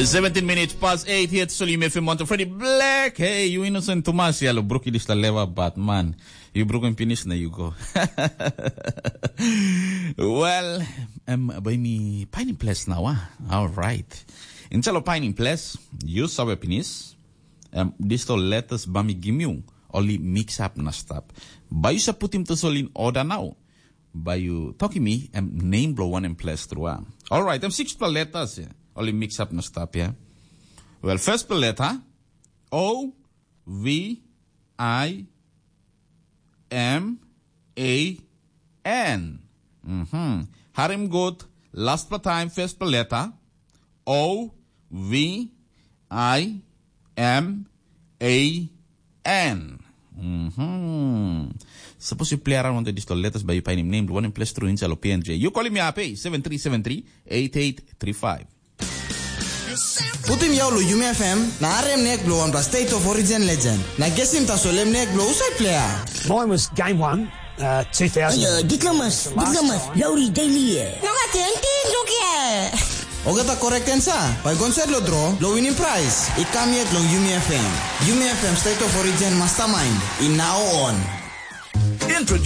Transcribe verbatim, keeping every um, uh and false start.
Seventeen minutes past eight here, Solim F M, Monte Freddy Black. Hey, you innocent too much. Yalo, bruki dis la leva, but man, you broken finish na you go. Well, um, by me pining place now, ah. All right. Instead of pining place, you saw a penis. Um, this to letters bami gimiu, only mix up na stop. By you sa put him to sol in order now. By you talking me, um, name blow one and place through, ah. All right, um, six letters, yeah. Only mix up na stop, yeah. Well, first letter, O V I M A N. Mhm. Harim good. Last pa time, first pa letter. O V I M A N. Mhm. Suppose you play around with this letters by you painim name one in place through inside of P N J. You calling me up, eh? Seven three seven three eight eight three five. Putim yau lo Yumi F M, na arem nek blo wanpla State of Origin legend. Na gesim tasol em nek blo usai player. Mine was game one, uh, two thousand. Ayo, diplomas, diplomas, Lowry Daily. No ka tenti, no ke. Ogata correct answer, bai gonset lo draw, lo winning prize. I kam yet long Yumi F M. Yumi F M State of Origin Mastermind, in now on. Introduce